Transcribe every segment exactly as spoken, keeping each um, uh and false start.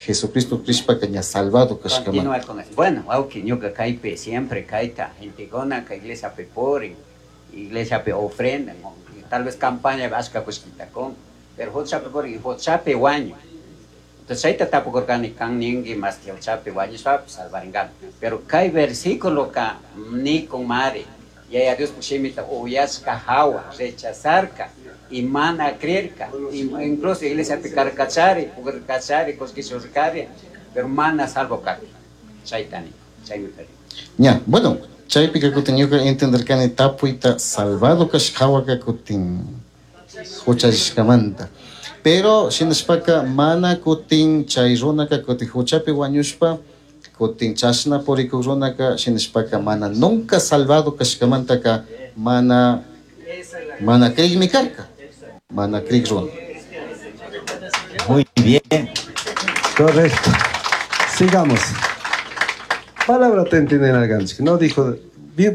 Jesucristo crishpaka ña salvado kashkamanta. Continuar con eso. Bueno, aunque ñuka kaypi siempre kayta, gentekuna iglesia purin, iglesia ofrenda, tal vez campaña ashka kullkita kun, pero huchapi purin, huchapi wañu. Entonces chayta tapukurkani kan ninki más que huchapi wañushpapish salvaringami. Pero kay versículo ka nikun mari, Yaya Dios shimita uyashka hawa, rechazarka, y mana creerka, incluso iglesia karkachari, purkachari, kullkishurkari, pero mana salvo karka. Chaytani, chaymi kari. Ña, bueno, chaypika kutin ñuka entenderkani tapuyta salvado kashka hawaka kutin huchallishkamanta. Pero shinashpaka mana kutin chay runaka kutin huchapi wañushpa kutin chashna purikuk runaka shinashpaka mana nunca salvado kashkamantaka mana mana krikmi karka. Mana krik runa. Muy bien. Correcto. Sigamos. Palabra te entienden alganchik. No dijo,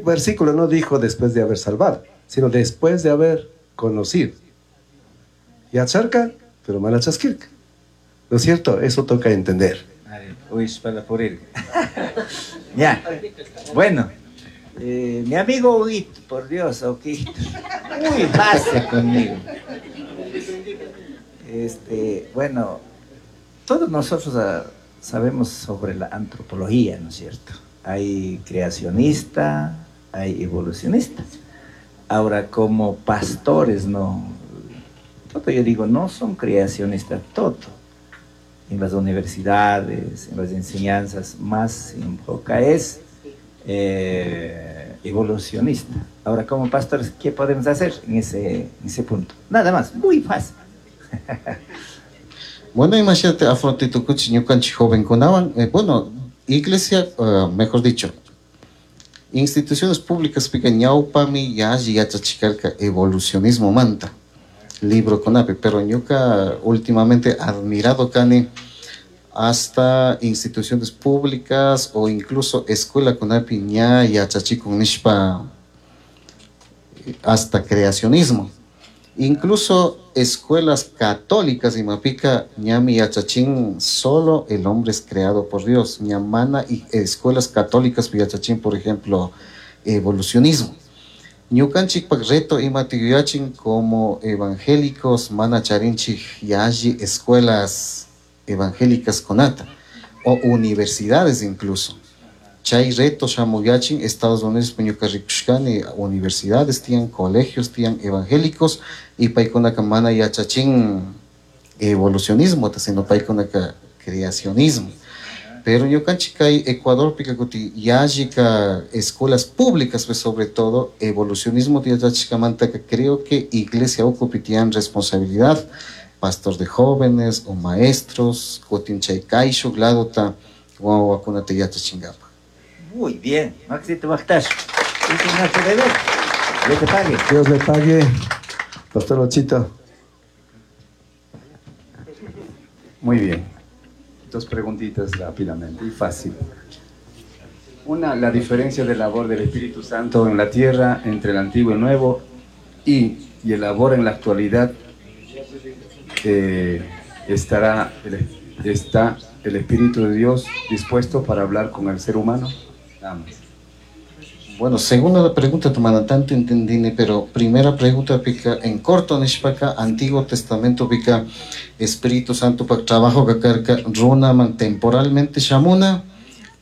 versículo no dijo después de haber salvado, sino después de haber conocido. Yacharka, pero mana chaskirka. ¿No es cierto? Eso toca entender. Uy, para por él. Ya. Bueno, eh, mi amigo Huguito, por Dios, Huguito. Muy base conmigo. Este, bueno, todos nosotros ah, sabemos sobre la antropología, ¿no es cierto? Hay creacionista, hay evolucionista. Ahora, como pastores, no, todo yo digo, no son creacionistas, todo. En las universidades, en las enseñanzas, más se enfoca es, eh, evolucionista. Ahora, como pastores, ¿qué podemos hacer en ese, en ese punto? Nada más, muy fácil. Bueno, imagínate, afrontitukuchi ñukanchik jovenkunawan, eh, bueno, iglesia, uh, mejor dicho, instituciones públicas pika ñawpami yalli yachachikarka evolucionismo manta, libro kunapi, pero ñuka últimamente admirado kani hasta instituciones públicas o incluso escuela kunapi ña yachachikun nishpa hasta creacionismo. Incluso escuelas católicas imapika ñami yachachin solo el hombre es creado por Dios. Ñamana y escuelas católicas yachachin, por ejemplo, evolucionismo. Ñukanchikpak reto imatiyuyachin como evangélicos mana charinchik yalli escuelas evangélicas kunata o universidades incluso. Chay reto shamuyachin Estados Unidos ñuka rikushkani universidades tiyan, colegios tiyan evangélicos y paykunaka mana yachachin evolucionismo, sino paykunaka creacionismo. Pero ñukanchik kay Ecuadorpika kuti yallika escuelas públicas, pues sobre todo evolucionismo yachachishkamantaka creo que iglesia ukupi tiyan responsabilidad, pastor de jóvenes o maestros, kutin chay kayshuk ladota wawakunata yachachinkapak. Muy bien, Maxito Bajtash. Es nuestro deber. Dios te pague. Dios le pague, Pastor Ochito. Muy bien. Dos preguntitas rápidamente y fácil. Una, la diferencia de labor del Espíritu Santo en la tierra entre el Antiguo y el Nuevo y, y el labor en la actualidad, eh, estará el, está el Espíritu de Dios dispuesto para hablar con el ser humano. Nada más. Bueno, segunda pregunta, tu tanto entendí, pero primera pregunta pica en corto nishpaka Antiguo Testamento pica Espíritu Santo pa trabajo kakarka runa man temporalmente shamuna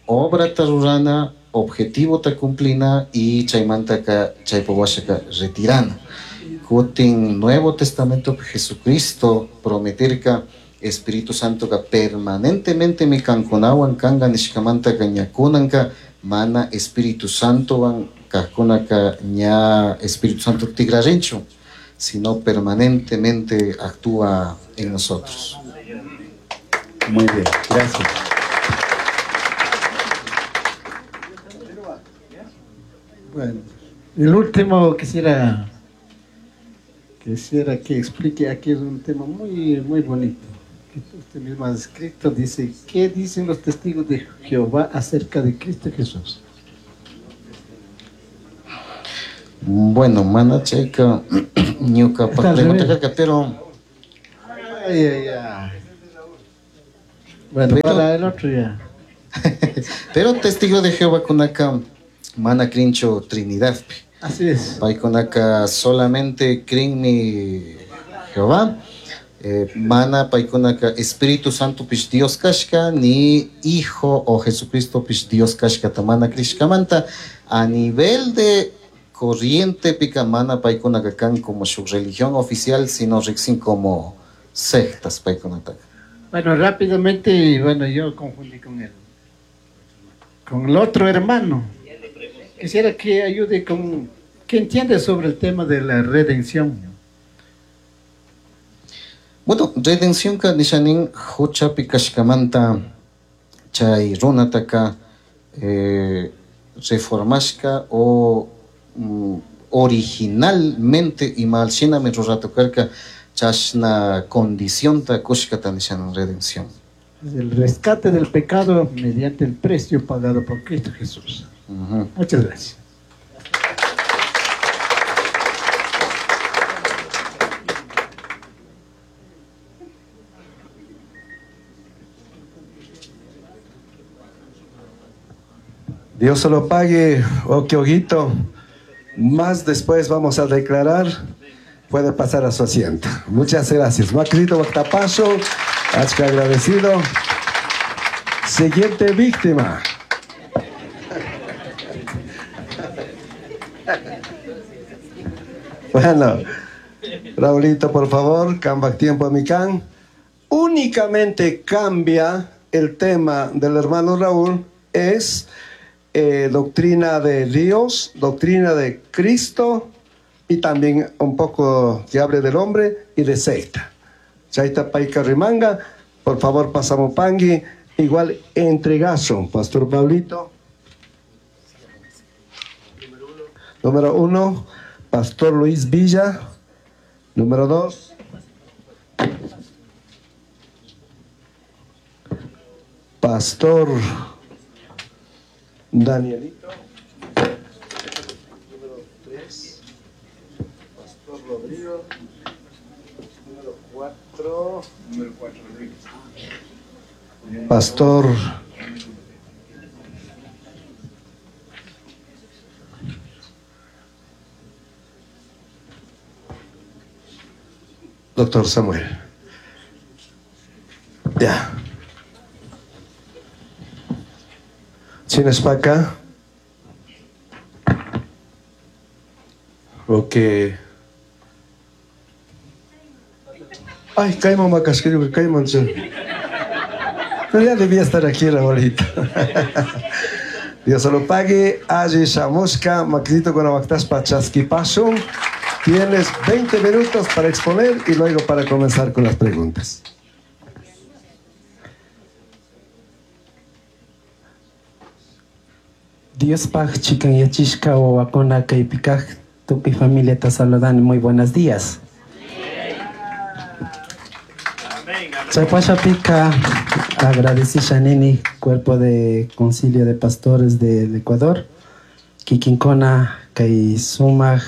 obra tarurana objetivo ta cumplina y chaymanta ka chaypawashaka retirana. Kutin Nuevo Testamento Jesucristo prometerka Espíritu Santo ka permanentemente mi kankunawan kanga nishkamanta ka ñakunanka mana Espíritu Santo wan kajkunaka ña Espíritu Santo tigrarinchu, sino permanentemente actúa en nosotros. Muy bien, gracias. Bueno, el último quisiera, quisiera que explique, aquí es un tema muy, muy bonito. Que usted mismo ha escrito, dice, ¿qué dicen los testigos de Jehová acerca de Cristo Jesús? Bueno, mana chayka ñuka Está al pregunta revés. karka, pero Ay, ay, ay. Bueno, pero, para el otro ya. Pero testigo de Jehová kunaka mana crincho Trinidad. Así es. Paykunaka solamente crinmi Jehová. Eh, mana paykunaka Espíritu Santo pish Dios kashka ni Hijo o Jesucristo pish Dios kashka mana krishkamanta a nivel de corriente pica mana paykunaka kan como su religión oficial sino riksin como sectas paykunataka. Bueno, rápidamente, bueno, yo confundí con él, con el otro hermano. Quisiera que ayude con, que entiende sobre el tema de la redención. Bueno, redención ka nishanin huchapi kashkamanta chay runataka eh, reformashka o mm, originalmente imalshinami ruratukarka chashna condición ta kushkata nishanin redención. Es el rescate del pecado mediante el precio pagado por Cristo Jesús. Uh-huh. Muchas gracias. Dios se lo pague, Oquioguito. Más después vamos a declarar. Puede pasar a su asiento. Muchas gracias. Macrito Bactapaso, Achca agradecido. Siguiente víctima. Bueno, Raulito, por favor, cambia tiempo a mi can. Únicamente cambia el tema del hermano Raúl, es eh, doctrina de Dios, doctrina de Cristo y también un poco que hable del hombre y de secta. Chaita Paika Rimanga, por favor, pasamos pangui. Igual entregazo, Pastor Pablito. Número uno, Pastor Luis Villa. Número dos, Pastor Danielito. Número tres, Pastor Rodrigo. Número cuatro, Número cuatro, Rodrigo. Pastor Doctor Samuel. Ya. Chinaspaca. Ok. Ay, Caimán Macasquillo, Caimán. Pero ya debía estar aquí, Raulito. Dios se lo pague. Allí Shamushka, Maquito con Abactaspa Chasquipaso. Tienes veinte minutos para exponer y luego para comenzar con las preguntas. Dios paj chikan yachishka o wakona kaipikaj tupi familia te saludan. Muy buenos días. Chaypashapika agradecí Shanini, cuerpo de concilio de pastores del Ecuador, Kikinkona, kay sumaj,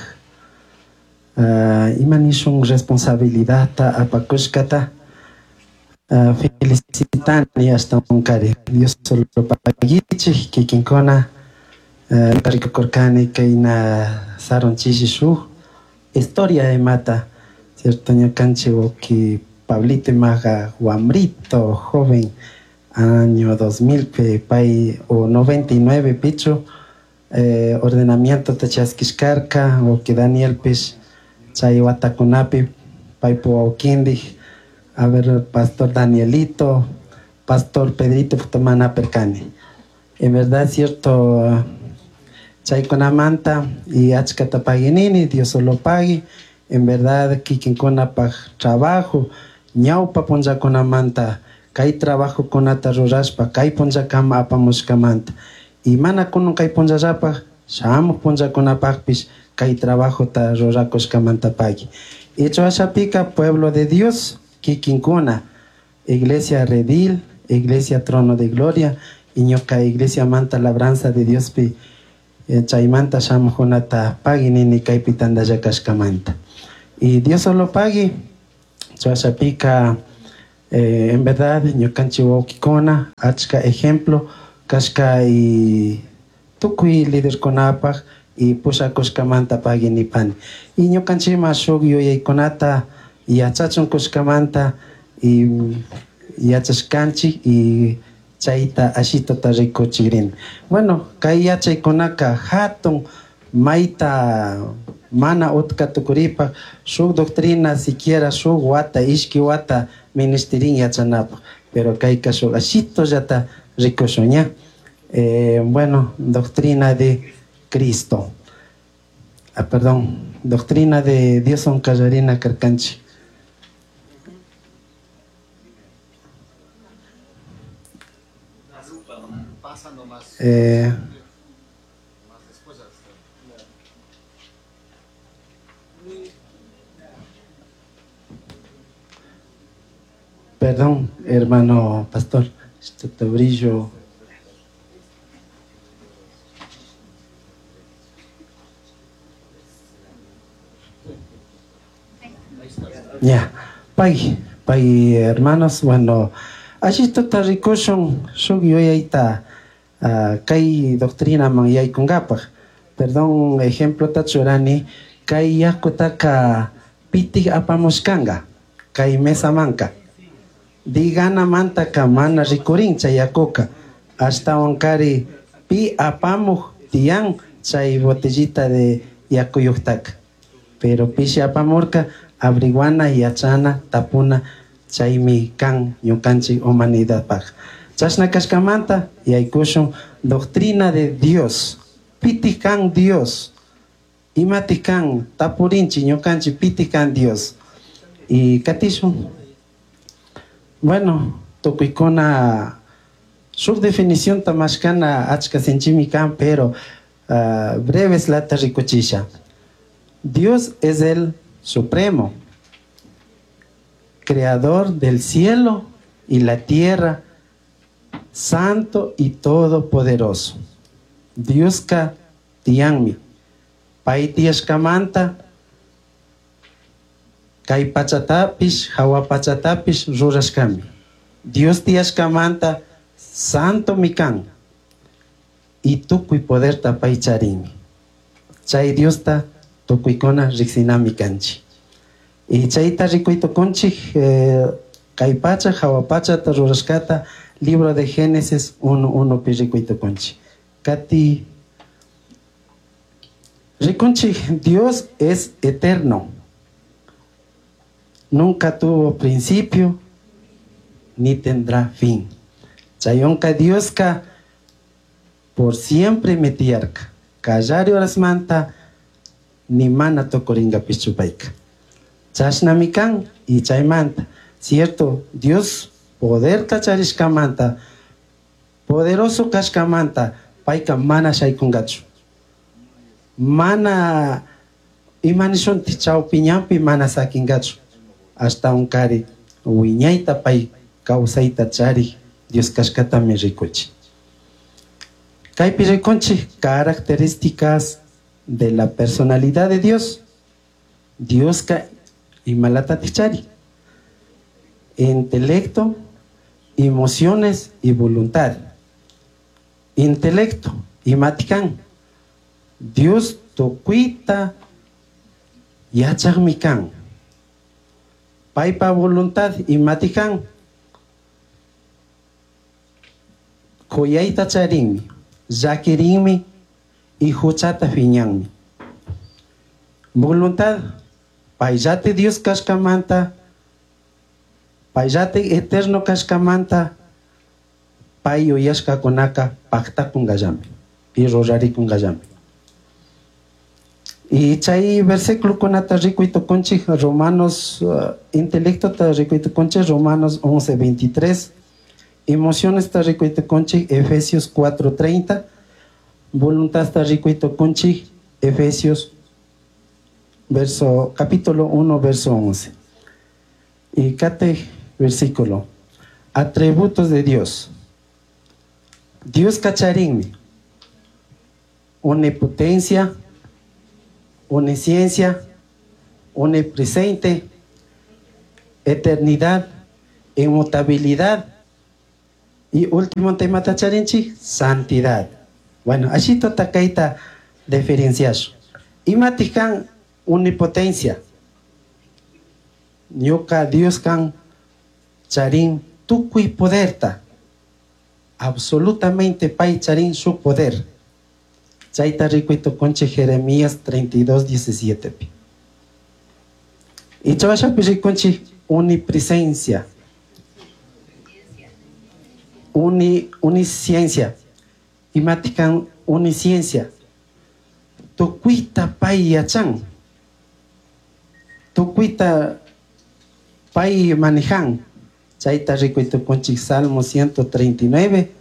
uh, imanishun responsabilidad ta apakushkata, uh, felicitani hasta unkari. Dios solo pagichi, Kikinkona, uh, rikukurkani kayna saron chishi shuj, historia de mata, cierto ñukanchi oki Pablito Imaga, Guamrito, joven, año dos mil, pay, o noventa y nueve, picho, eh, ordenamiento tachasquiscarca, o que Daniel Pis, Chayhuatacunapi, Paipo Auquindi, a ver, Pastor Danielito, Pastor Pedrito Futamana Percani. En verdad, cierto, Chayconamanta y Achcatapaguinini, Dios solo pague, en verdad, Kikinkona pa trabajo, ñawpa punllakunamanta, kay trabajo kunata rurashpa, kay punllakama apamushkamanta. Y mana kunun kay punllallapaj, shamuj punllakunapajpish, kay trabajota rurakushkamanta pagui. Hecho ashapika, pueblo de Dios, kikinkuna, Iglesia Redil, Iglesia Trono de Gloria, y ñuka Iglesia Manta Labranza de Dios pi, eh, chaymanta shamujkunata pagui nini kaypi tandallakashkamanta. Y Dios solo pagui. Chuashapika, Eh, en verdad, ñukanchik wawkikuna, achka ejemplo, kashka y tukuy liderkunapaj y pushakushkamanta pagui nipani. Y ñukanchikman shuk yuyaykunata yachachun kushkamanta y yachashkanchik y chayta ashitota rikuchikrin. Bueno, kay yachaykunaka hatun mayta mana utka tukuripaj shuk doctrina siquiera shuk wata ishki wata ministerin yachanapaj, pero kayka shuk ashitollata rikushun ña. Eh, bueno, doctrina de Cristo. Ah, perdón, doctrina de Dios onkallarina karkanchik. Eh, perdón, hermano pastor, este brillo. Ya, pay, pay, hermanos, bueno, ashitota rikushun shuk yuyayta uh, kay doctrina man yaykungapaj. Perdón, ejemplo tachurani, kay yakutaka pitik apamushkanga, kay mesa manka. Digana mantaka mana rikurin chay yakuka, ashtawan kari pi apamuj tiyan chay botellita de yakuyuktaka. Pero pishi apamurka, abriguana, yachana, tapuna, chaymi kan ñukanchik humanidadpaj. Chashna kashkamanta yaykushun doctrina de Dios. Piti kan Dios. Imati kan tapurinchi ñukanchik piti kan Dios. Y katishun. Bueno, tukuykuna subdefinición tamashkana achka sinchimi kan, pero uh, breves lata rikuchisha. Dios es el supremo, creador del cielo y la tierra, santo y todopoderoso. Dioska tiyanmi, pay tiyashkamanta, kay pachatapish, hawa pachatapish rurashkami. Dios tiyashkamanta, santo mikan, y tukuy poderta pay charinmi. Chay Diosta tukuykuna riksinami kanchik. Y chayta rikuytukunchik, eh, kay pacha, hawa pachata rurashkata, libro de Génesis uno uno pi rikuytukunchik. Kati rikunchik, Dios es eterno. Nunca tuvo principio ni tendrá fin. Chayonka Dioska por siempre metiyarka. Kallari horasmanta ni mana tokoringa pichupayka. Chashnami kan y chaymanta. Cierto, Dios poder kacharishkamanta, poderoso kashkamanta, payka mana shaykungachu. Mana imanishunti chawpiñanpi mana sakingachu. Hasta un kari wiñayta pay kawsayta charik Dios kashkatami rikuchi. Kaypi rikunchik características de la personalidad de Dios. Dioska imalata tichari. Intelecto, emociones y voluntad. Intelecto, imatikan. Dios tukuita yachaqmikan. Paypa voluntad imatikan. Kuyayta charinmi, llakirinmi y huchata fiñanmi. Voluntad, payllate Dios kashkamanta, payllate eterno kashkamanta, pay yuyashkakunaka paqtakunkallami y rurarikunkallami. Y chay versículokunata rikuytukunchik Romanos, uh, intelectota rikuytukunchik Romanos once veintitrés, emociones ta rikuytukunchik Efesios cuatro treinta, voluntad ta rikuytukunchik Efesios verso, capítulo uno, verso once. Y kate versículo, atributos de Dios. Dios kacharinmi, omnipotencia, omnisciencia, omnipresente, eternidad Inmutabilidad. Y último tema tacharinchi, santidad. Bueno, así tota kaita diferenciazo. Imatikan omnipotencia. Ñuka Dios kan charin tukuy poderta. Absolutamente pay charin su poder. Chayta rikuy tukunchik Jeremías treinta y dos, diecisiete. Y chavashapi rikunchik unipresencia. Uni, unisciencia. Imatikan unisciencia. Tukuita pay yachan. Tukuita pay manejan. Chayta rikuy tukunchik Salmo ciento treinta y nueve,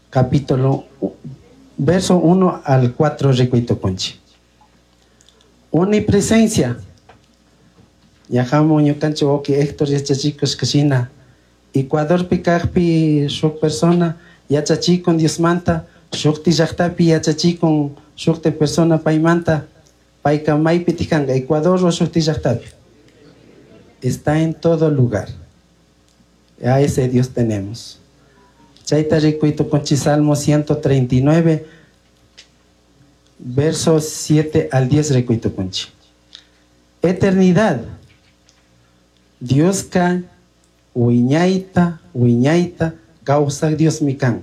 capítulo, verso uno al cuatro rikuy tukunchik. Unipresencia. Yajamo ñukanchik wawqi Héctor yachachikush kashina. Ecuadorpi kajpi shuk persona yachachikun Diosmanta, shukti llaqtapi yachachikun shukti persona paymanta, payka maypi tikanka, Ecuador o shukti llaqtapi. Está en todo lugar. A ese Dios tenemos. Chayta rikuy tukunchik Salmo ciento treinta y nueve, versos siete al diez rikuy tukunchik. Eternidad. Dioska wiñayta, wiñayta, kawsaq Dios mi kan.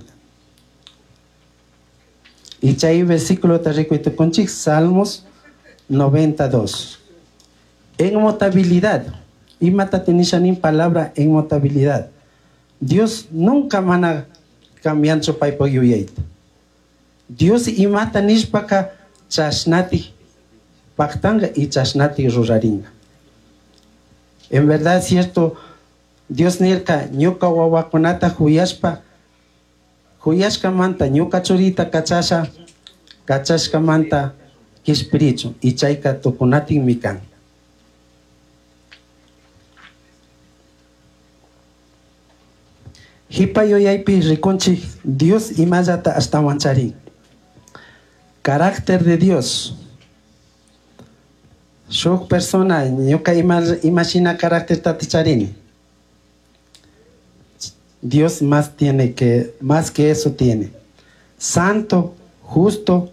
Y chay versículo ta rikuy tukunchik Salmos noventa y dos. Inmutabilidad. Imata tenishanin palabra inmutabilidad. Dios nunca mana cambiancho paypaq yuyayta. Dios imata nishpaka chashnati pactanga y chashnati ruraringa. En verdad es cierto, Dios nirka ñuka wawakunata huyashpa, huyashkamanta ñuka churita kachasha, kachashkamanta kishpirichu y chayka tukunatin mikan. Hipa yuyaypi rikunchik Dios imallata ashtawan charin. Carácter de Dios. Shuk persona ñuka ima, imashina carácter tati charini. Dios más tiene que, más que eso tiene. Santo, justo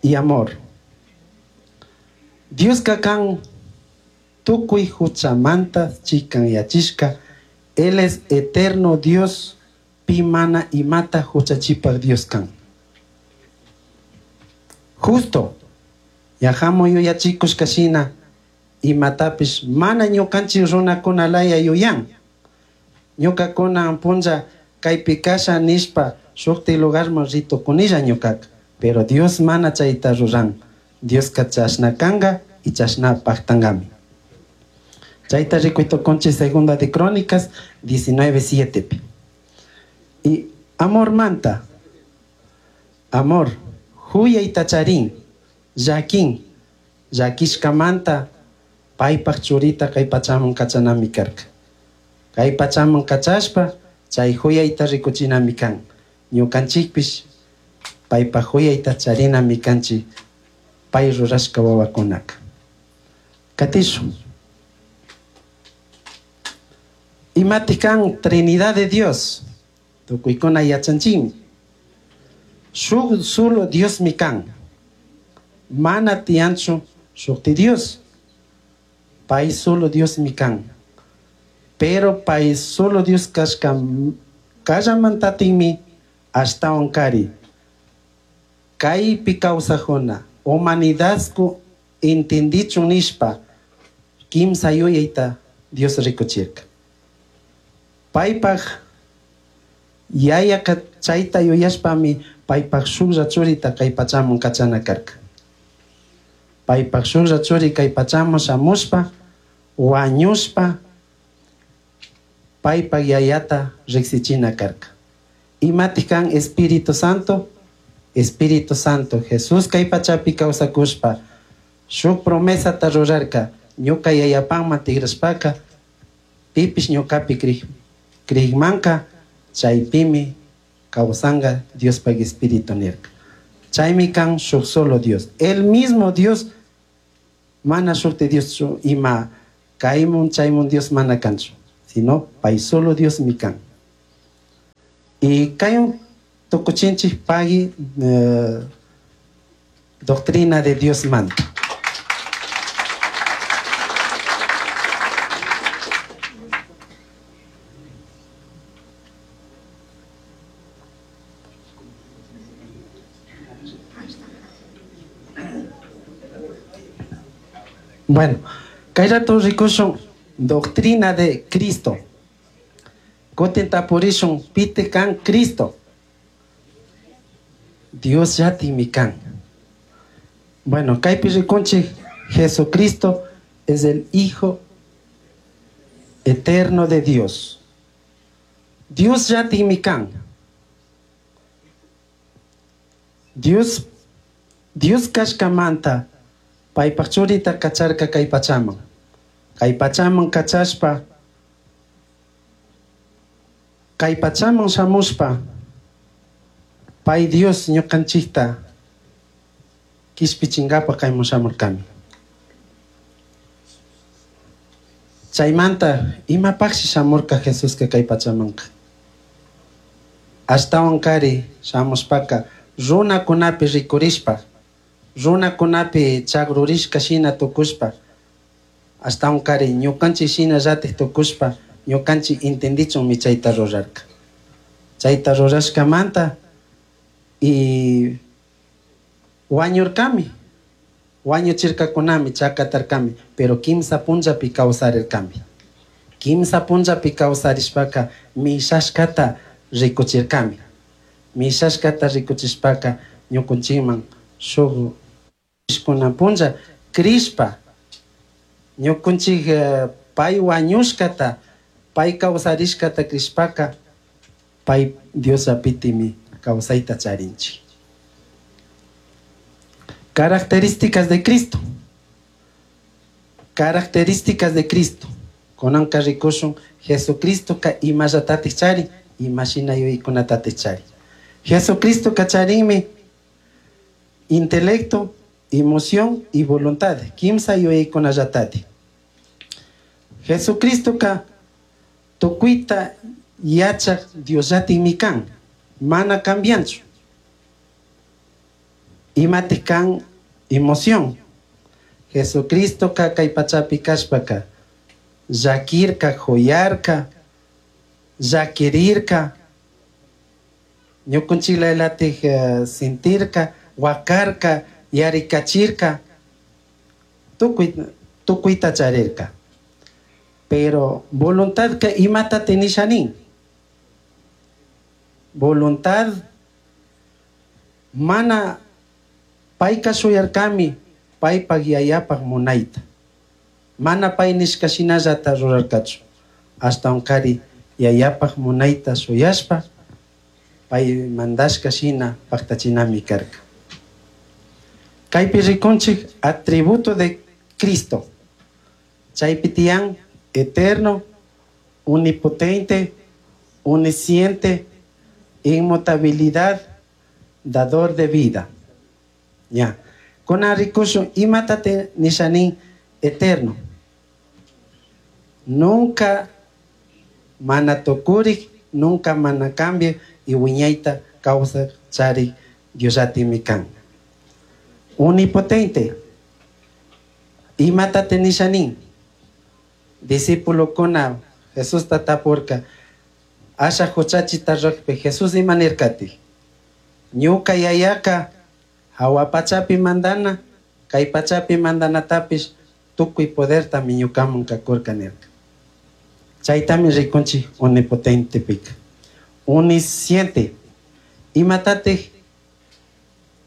y amor. Dios kakan tukuy huchamanta chikan yachishka. Él es eterno Dios, pimana y mata huchachipak Dios kan. Justo. Yajamo yuyachikush kashina y matapish mana ñukanchik runakuna laya yuyan. Ñukakuna punlla kaypi kasha nishpa shukti lugarman ritukunilla ñukaka. Pero Dios mana chayta ruran. Dioska chashna kanga y chashna paktangami. Chayta rikuy tukunchik segunda de Crónicas diecinueve siete. Y amor manta. Amor. Huyay tacharín. Yakin. Yakishkamanta. Paypaj churita kay pachaman kachanami karka. Kay pachaman kachashpa chay huyayta rikuchinami kan. Ñukanchikpish paypaj huyayta charinami kanchik pay rurashka wawakunaka. Katishun. Imatikan Trinidad de Dios. Tukuykuna yachanchikmi. Shuk solo Dios mi kan. Mana tianchu shukti Dios. Pay solo Dios mi kan. Pero pay solo Dios kashka kallamantatinmi ashtawan kari. Kaypi kawsajuna humanidadku entendichun nishpa kimsa yuyayta Dios rikuchirka. Paypaj yayaka chayta yuyashpami paypaj shuklla churita kay pachaman kachana karka. Paypaj shuklla churi kay pachaman shamushpa wañushpa paypaj yayata riksichina karka. Imatij kan Espíritu Santo? Espíritu Santo Jesús kay pachapi kawsakushpa shuk promesata rurarka ñuka yayapanman tigrashpaka pipish ñukapi krij-, krigmanka chaypimi kawsanga Diospaj Espíritu nirka. Chaymi kan shuk solo Dios. El mismo Dios mana shukti Dios chu ima kaymun chaymun Dios mana kanchu, Sino pay solo Dios mi kan. Y kay tukuchinchik pagi eh, doctrina de Dios manta. Bueno, kay rato rikushun doctrina de Cristo. Kutin tapurishun piti kan Cristo. Dios yatimi kan. Bueno, kaypi rikunchik Jesucristo es el Hijo eterno de Dios. Dios yatimi kan. Dios, Dios kashkamanta paypaj churita kacharka kay pachaman. Kay pachaman kachashpa, kay pachaman shamushpa, pay Dios ñukanchikta kishpichinkapa kayman shamurkami. Chaymanta imapaqshi shamurka Jesuska kay pachamanka. Ashtawan kari shamushpaka runakunapi rikurishpa, runakunapi chagrurishka shina tukushpa, ashtawan kari ñukanchik shina llatik tukushpa, ñukanchik entendichunmi chayta rurarka. Chayta rurashkamanta y wañurkami, wañuchirkakunami, chakatarkami, pero kimsa punllapi kawsarirkami. Kimsa punllapi kawsarishpaka mishashkata rikuchirkami. Mishashkata rikuchishpaka ñukunchikman shuk kunan punlla krishpa ñukunchik pay wañushkata, pay kawsarishkata krishpaka pay Dios apitimi kawsayta charinchik. Características de Cristo. Características de Cristo. Kunanka rikushun Jesucristo ka imallatatik chari, imashina yuyaykunatatik chari. Jesucristo ka charinmi intelecto, emoción y voluntad. Kimsa yuyaykunallatatik. Jesucristo ka tukuyta yachak Diosllatikmi kan, mana cambianchu. Imatik kan emoción. Jesucristo ka kay pachapi kashpaka llakirka, joyarka, llakirirka, ñukunchik uh, sentirka, wakarka, yarikachirka, tukuy, tukuyta charirka. Pero voluntad ka imata tenishanin. Voluntad mana payka shuyarkami paypak yayapaj munayta. Mana pay nishka shinallata rurarkachu. Ashtawan kari yayapaj munayta shuyashpa pay mandashka shina paktachinami karka. Kaypi rikunchik atributo de Cristo. Chaypi tiyan eterno, omnipotente, omnisciente, inmutabilidad, dador de vida. Ya. Kuna rikushun imatate nishanin eterno. Nunca mana tukurik, nunca mana cambia y wiñayta causa chari Diosatimi kan. Omnipotente. Imatate nishanin. Discípulo kuna Jesús tatapurka asha huchachita rukpi Jesús imanirkati. Ñuka yayaka hawa pachapi mandana, kay pachapi mandanatapish tukuy poderta mi ñukaman kakurka nirka. Chaytami rikunchik omnipotente pika. Omnisciente. Imatatej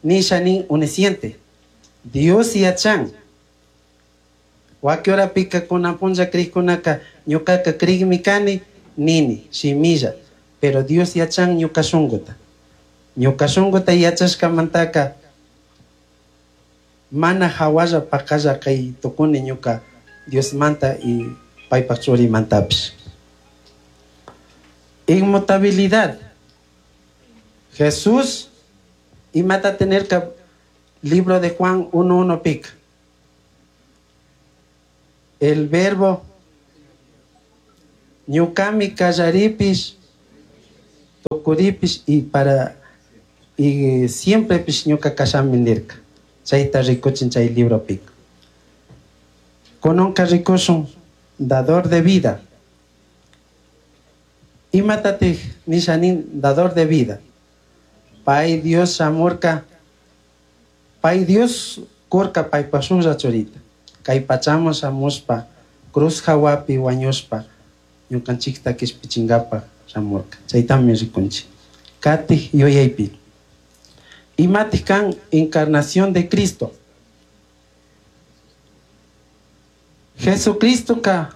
nishanin omnisciente. Dios yachan. Wakiora pika kunan punlla krikkunaka ñukaka krikmi kani nini shimilla, pero Dios yachan ñuka shunkuta. Ñuka shunkuta yachashkamantaka mana hawalla pakalla kay tukuni ñuka Dios manta y paypaj churimantapish. Inmutabilidad. Jesús imata tener que libro de Juan uno uno pica. El verbo Ñucami kallaripish, tukuripish y para y siempre pish ñuka kashami nirka. Chayta rikuchin chay libropika. Kunanka rikushun dador de vida. Imatatik nishanin dador de vida. Pay Dios shamurka, pay Dios kurka paypa shuklla churita. Kay pachaman shamushpa, cruz hawapi wañushpa, ñukanchikta kishpichinkapaj shamurka. Chaytami rikunchik. Katij yuyaypi. Imatik kan encarnación de Cristo. Jesucristo ka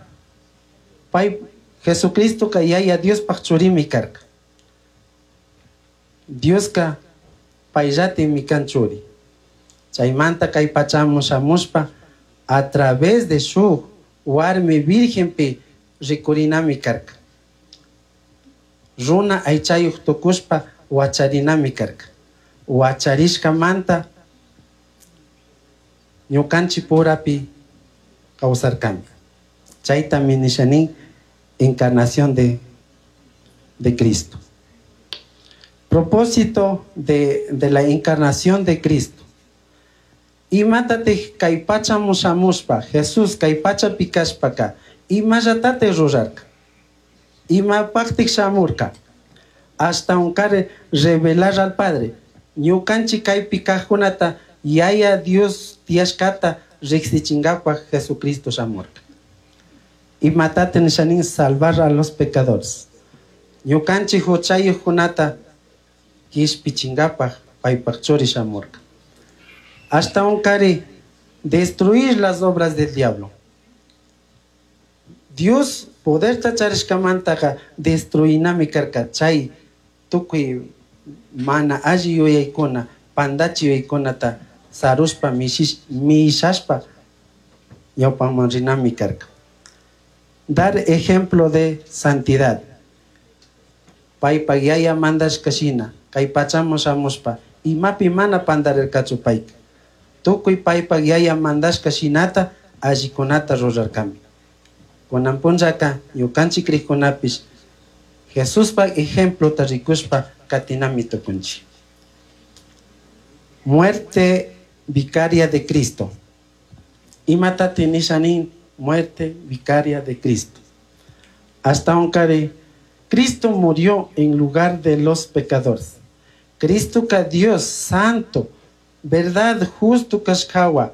pay Jesucristo ka yaya Diospaj churimi karka. Dioska payllati kan churi. Chaymanta kay pachaman shamushpa a través de shuk warmi virgenpi rikurinami karka. Runa aychayuq tukushpa wacharinami karka. Wacharishkamanta ñukanchik purapi kawsarkami. Chaytami nishanin encarnación de, de Cristo. Propósito de, de la encarnación de Cristo. Imatatij kay pachaman shamushpa, Jesús kay pachapi kashpaka, imallatatij rurarka. Imapaqtik shamurka. Hasta unkare revelar al Padre. Ñukanchik kaypi kajkunata yaya Dios tiyashkata riqsichinkapaj Jesucristo shamurka. Imatate nishanin salvar a los pecadores. Ñukanchik huchayuqkunata kishpichinkapaj paypaj churi shamurka. Hasta unkari destruir las obras del diablo. Dios poderta charishkamantaka destruinami karka chay tukuy mana alli yuyaykuna pandachi yuyaykunata sarushpa mishashpa ñawpaman rinami karka. Dar ejemplo de santidad. Paypak yaya mandashka shina kay pachaman shamushpa imapi mana pandarirkachu payka. Tukuy paypak yaya mandashka shinata allikunata rurarkami. Kunan punllaka ñukanchik krikkunapish Jesuspa ejemplota rikushpa katinami tukunchik. Muerte vicaria de Cristo. Imatati nishanin muerte vicaria de Cristo. Hasta unkari Cristo murió en lugar de los pecadores. Cristo ka Dios santo, verdad justo kashkawa,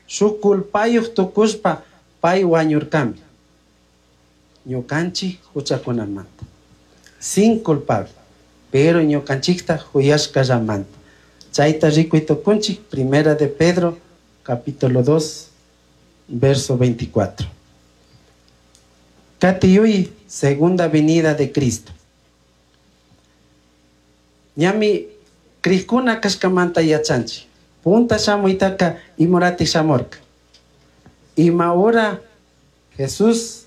shuk culpayuq tukushpa pay wañurkami. Ñukanchik huchakunamanta. Sin culpable, pero ñukanchikta huyashkallamanta. Chayta rikuy tukunchik, Primera de Pedro, capítulo dos, verso veinticuatro. Katiyuy, segunda venida de Cristo. Ñami krikuna kashkamanta yachanchik. Punta shamuytaka imurati shamurka. Ima hora Jesús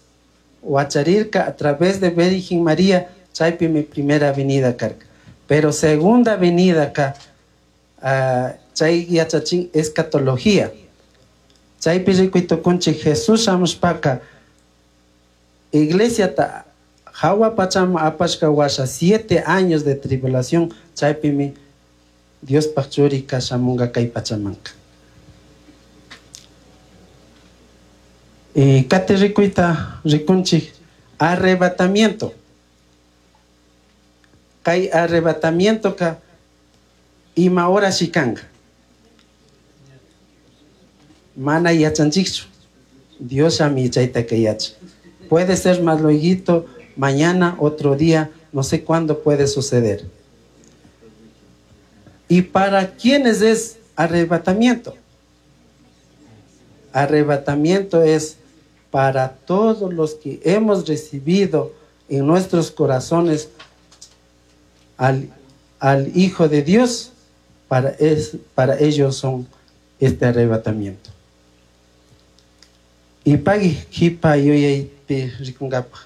wacharirka a través de Virgen María, chaypi mi primera venida karka. Pero segunda venida ka uh, chay yachachin escatología. Chaypi rikuy tukunchik Jesús shamushpaka iglesia ta hawa pachama apashka washa siete años de tribulación, chaypi mi Diospaj churika shamunga kay pachamanka. Y kati rikuyta rikunchik arrebatamiento. Kay arrebatamiento ka ima hora shikanga. Mana yachanchikchu. Dios ami chayta kay yacha. Puede ser más lueguito, mañana, otro día, no sé cuándo puede suceder. ¿Y para quiénes es arrebatamiento? Arrebatamiento es para todos los que hemos recibido en nuestros corazones al, al Hijo de Dios, para, es, para ellos son este arrebatamiento. Y pagui jipa yuyay pi rikungapa.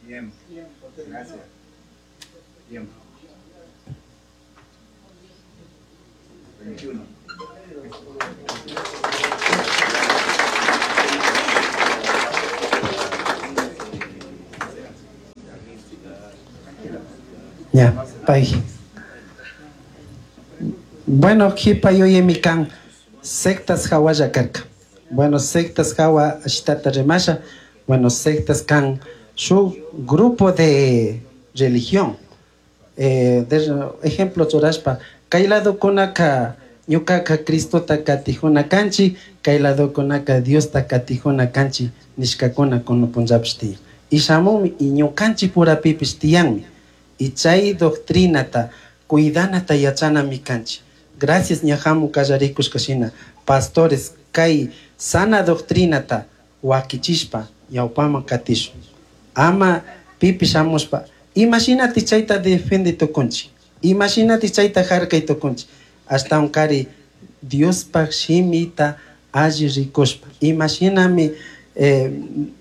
Bien, gracias. Tiempo. veintiuno. Ya, pay. Bueno, jipa yuyaymi kan sectas hawalla karka. Bueno, sectas hawa ashtata rimasha. Bueno, sectas kan su grupo de religión. Eh, de ejemplo, churashpa, kay ladokunaka ñukaka Cristota katijuna kanchi, kay ladokunaka Diosta katijuna kanchi nishkakuna kunan punllapish tiyan. Y shamunmi y ñukanchik purapipish tiyanmi. Y chay doctrinata cuidanata yachanami kanchik. Gracias ña hamu kallarikushka shina pastores kay sana doctrinata wakichishpa ñawpaman katishun. Ama pipish shamushpa imashinati chayta defendi tukunchik, imashinati chayta harkay tukunchik, ashtawan kari Diospaj shimita alli rikushpa imashinami eh,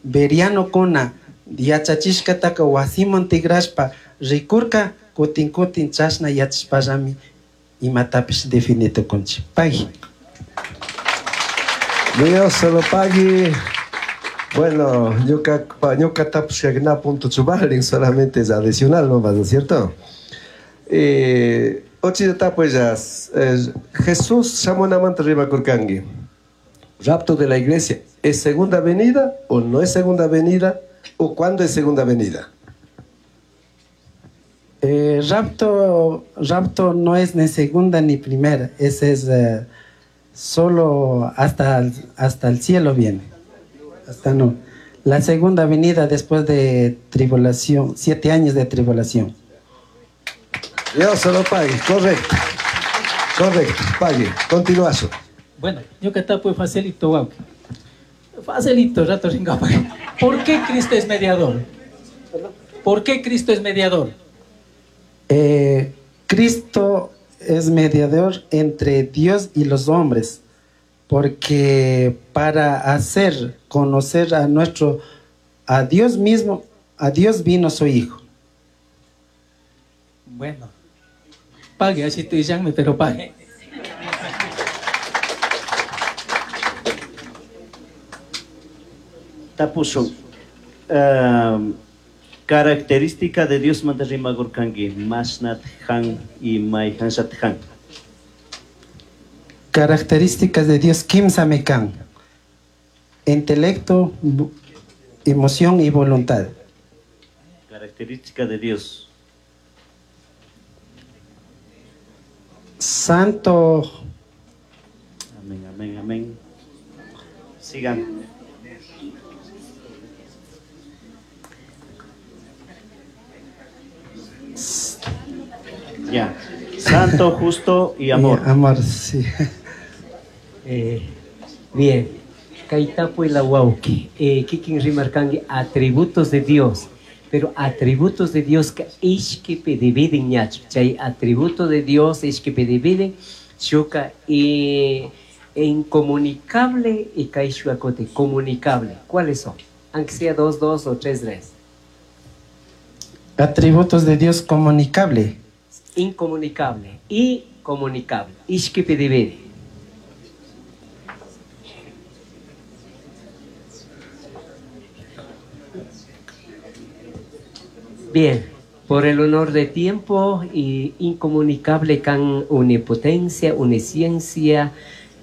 berianokuna yachachishkataka wasiman tigrashpa rikurka kutin kutin chashna yachashpallami imatapish defini tukunchik. Pagui. Dios se lo pague. Bueno, ñuka ñuka tapushkakuna punto chubalin solamente es adicional nomás, ¿no es cierto? Eh, ochita tapuyas, eh, Jesús shamunamanta rimakurkanki. Rapto de la iglesia, ¿es segunda venida o no es segunda venida? ¿O cuándo es segunda venida? Eh, rapto, rapto no es ni segunda ni primera, ese es eh, solo hasta el, hasta el cielo viene. Hasta no. La segunda venida después de tribulación, siete años de tribulación. Dios se lo pague, correcto. Correcto, pague. Continuazo. Bueno, yo que tapo facilito, guau. Facilito, rato ringa. ¿Por qué Cristo es mediador? ¿Por qué Cristo es mediador? Eh, Cristo es mediador entre Dios y los hombres, porque para hacer conocer a nuestro, a Dios mismo, a Dios vino su Hijo. Bueno, pague, así te llame, pero pague. Tapuso. Um, característica de Dios manta rimagurkanki, masnat han y mayhansat han. Características de Dios, kimsa mekan. Intelecto, emoción y voluntad. Característica de Dios. Santo. Amén, amén, amén. Sigan. Ya. Santo, justo y amor. Y amor, sí. Eh, bien. Kaitapu y la wauki. Eh, kikin rimarkangi atributos de Dios. Pero atributos de Dios que ishkipi dividen ñachu. Chay atributo de Dios ishkipi dividen shuka y incomunicable y kaishuakote comunicable. ¿Cuáles son? Aunque sea dos, dos o tres, tres. Atributos de Dios comunicable. Incomunicable y comunicable. Ishkipi divide. Bien, por el honor de tiempo y incomunicable can unipotencia, unisciencia,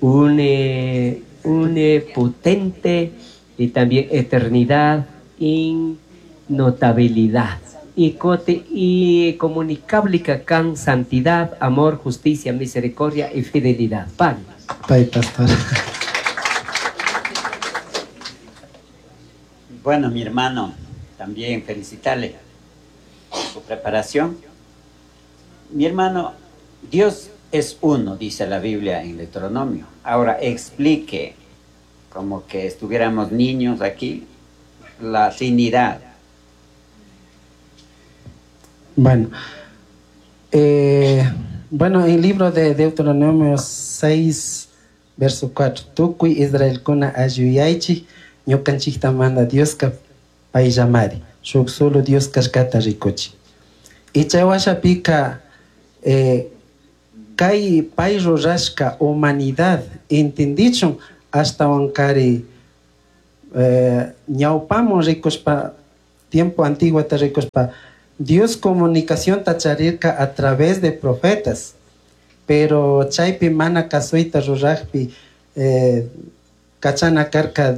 une, unipotente y también eternidad, innotabilidad. Y, cote, y comunicable can santidad, amor, justicia, misericordia y fidelidad. Pan. Pay, pastor. Bueno, mi hermano, también felicitarle su preparación. Mi hermano, Dios es uno, dice la Biblia en Deuteronomio. Ahora explique, como que estuviéramos niños aquí, la Trinidad. Bueno, eh, bueno, en el libro de Deuteronomio seis, verso cuatro, Tukuy Israelkuna ayuyaychik, ñukanchikta manda Dioska payllamari, shuk solo Dios kashkata rikuchi. Y chay washapika eh, kay pay rurashka humanidad entendichun ashtawankari eh, ñawpamun rikushpa, tiempo antiguota rikushpa, Dios comunicación tacharirka a través de profetas, pero chaypi mana kasuyta rurajpi eh, kachana karka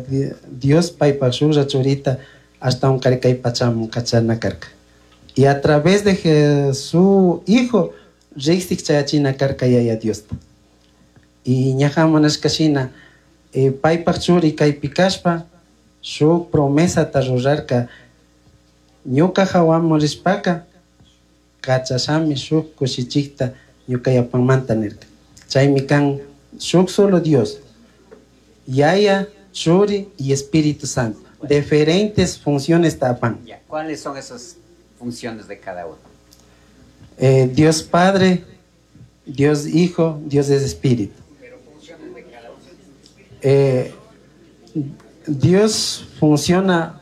Dios paypaj shuklla churita hasta un kay pachamun kachana karka. Y a través de su hijo riksik chayachina karka yaya Diosta. Y ñajamunashka shina eh, paypaj churi kaypi kashpa shuk promesata rurarka ñuka hawaman rishpaka kachashami shuk kushichikta ñuka yapanmanta nirka. Chaymi kan shuk solo Dios, Yaya, Churi y Espíritu Santo. Diferentes funciones tapan. ¿Cuáles son esas funciones de cada uno? Eh, Dios Padre, Dios Hijo, Dios es Espíritu. Eh, Dios funciona,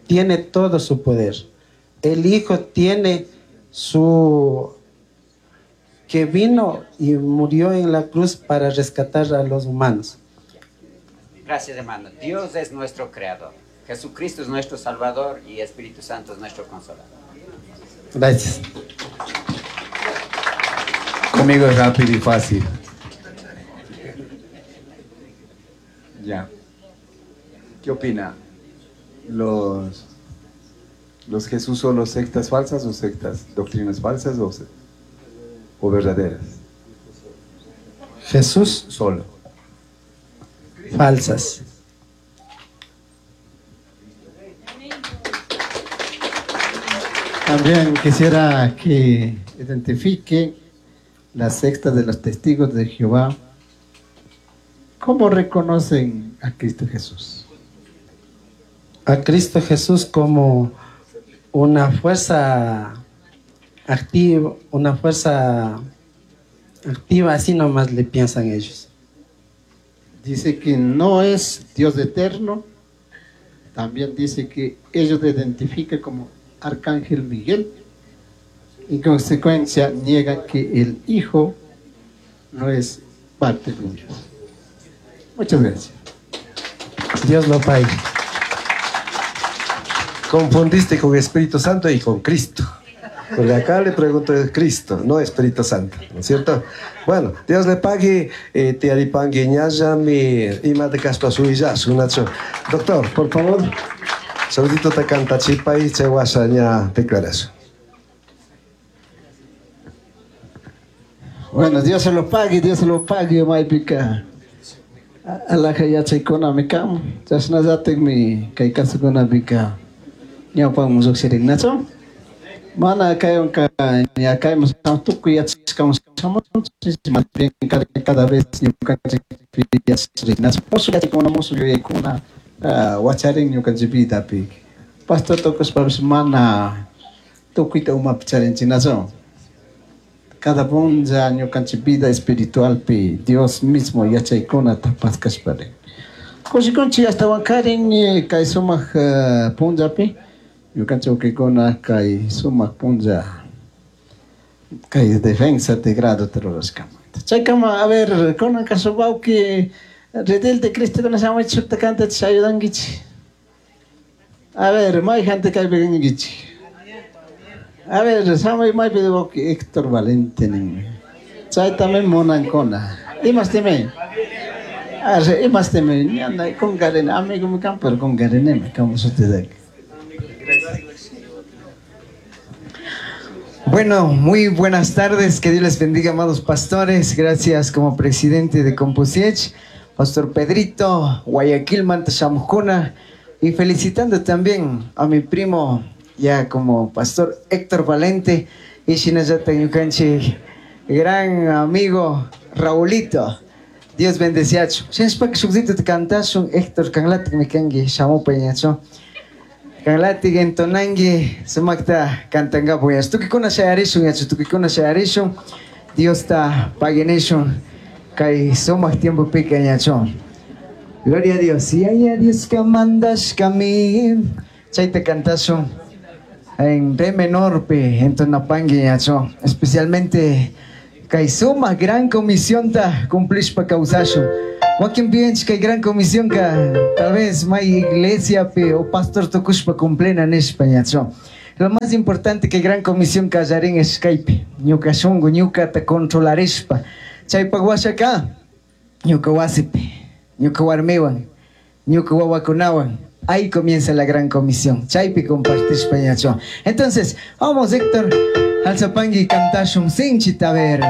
tiene todo su poder. El Hijo tiene su... que vino y murió en la cruz para rescatar a los humanos. Gracias, hermano. Dios es nuestro creador. Jesucristo es nuestro Salvador y Espíritu Santo es nuestro Consolador. Gracias. Conmigo es rápido y fácil. Ya. ¿Qué opina? ¿Los, los Jesús solo sectas falsas o sectas, doctrinas falsas o, o verdaderas? Jesús solo. Falsas. También quisiera que identifique la secta de los testigos de Jehová. ¿Cómo reconocen a Cristo Jesús? A Cristo Jesús como una fuerza activa, una fuerza activa, así nomás le piensan ellos. Dice que no es Dios eterno. También dice que ellos le identifican como Arcángel Miguel. En consecuencia, niegan que el Hijo no es parte de Dios. Muchas gracias. Dios lo pague. Confundiste con Espíritu Santo y con Cristo. Porque acá le pregunto es Cristo, no Espíritu Santo, ¿no es cierto? Bueno, Dios le pague, eh, te aripangue ñallami, ima de caspa suillasu, Nacho. Doctor, por favor, saludito te canta chipa y che guasa ña declaración. Bueno, Dios se lo pague, Dios se lo pague, maipika. Alaja yachaykuna mi kam, chashnallatikmi kay kasukuna pika ñawpaman lluqshirin, nacho? Mana kaywanka ña kayman tukuy yachashkaman shamunchik, más bien cada, cada vez ñukanchik yachashirin, nacho? Musuq yachaykuna, musuq yuyaykuna, ah, wacharin ñukanchik vidapi. Pastor tukushpapish mana tukuyta umapi charinchik, nacho? Cada punlla ñukanchik vida espiritualpi Dios mismo yachaykunata paskashpari. Kushikunchik ashtawan karin kay sumaq uh, punllapi ñukanchik ukaykuna kay sumaq punlla kay defensa de grado rurashkamanta. Chaykama, a ver, kunanka wawqi redil de Cristo kuna shamuchik shukta kantachik ayudankichik. A ver, mayjanta kaypi kankichik. A ver, shamuy maypi wawqi Héctor Valente ninmi. Chaytami munankuna. Imastimi? Arre, imastimi? Ñana kunkarini, amigomi kan, pero kunkarinimi, como sutidaki. Bueno, muy buenas tardes, que Dios les bendiga, amados pastores. Gracias como presidente de Compusiech, Pastor Pedrito, Guayaquil, Manta Shamujuna, y felicitando también a mi primo, ya como Pastor Héctor Valente, y Shinayata Ñukanchi, gran amigo Raulito. Dios bendeciacho. Shinshpak shukdito te cantashun, Héctor kanlatik mikangi, shamupa ñacho. Kanlatik entonangi, sumakta cantangapo yacho. Tukikuna shayarishun yacho, tukikuna shayarishun. Dios ta paguenishun, kay sumak tiempo pica ñacho. Gloria a Dios. Y ay a Dios que mandas kami. Chayta cantashun en re menor pe entonapangui ñacho. Especialmente kay suma gran comisión ta cumplishpa kawsashun. Wakin piench kay gran comisión ka tal vez may iglesia pe o pastor tukushpa cumplena nishpa ñacho. Lo más importante que gran comisión kallarin es kaypi. Ñuka shunku, ñukata controlarishpa. Chaypak washaka, ñuka wasipi, ñuka warmiwan, ñuka wawakunawan. Ahí comienza la gran comisión. Chaypi compartishpa ñacho. Entonces, vamos Héctor, alzapangui cantashun sinchita a ver.